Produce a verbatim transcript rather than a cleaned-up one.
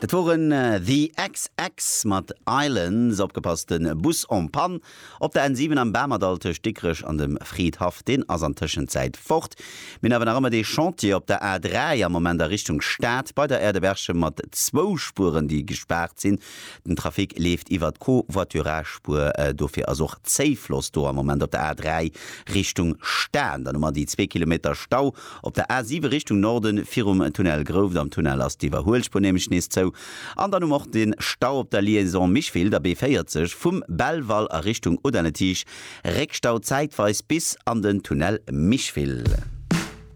Dat woren The xx mat Islands. Opgepasst, den Bus en panne op der N siwen am Bamerdall tëscht Dikrech an dem Fridhaff, deen ass an Tëschenzäit fort. Mir hunn awer nach ëmmer dee Chantier op der A dräi am Moment a Richtung Stad bei der Aire de Berchem mat zwou Spueren, déi gespaart sinn. Den Trafic leeft iwwer d'Covoiturage-Spuer, dofir ass och Zéifloss do am Moment op der A dräi Richtung Stad. Dann hu mer déi zwee Kilometer Stau op der A siwe Richtung Norden virum Tunnel Grouft. Am Tunnel ass d'Iwwerhuelspuer nämlech nees zou. An dann hu mer och de Stau op der Liaison Micheville, der B véierzeg vum Belval a Richtung Audun-le-Tiche. Réckstau zäitweis bis an den Tunnel Micheville.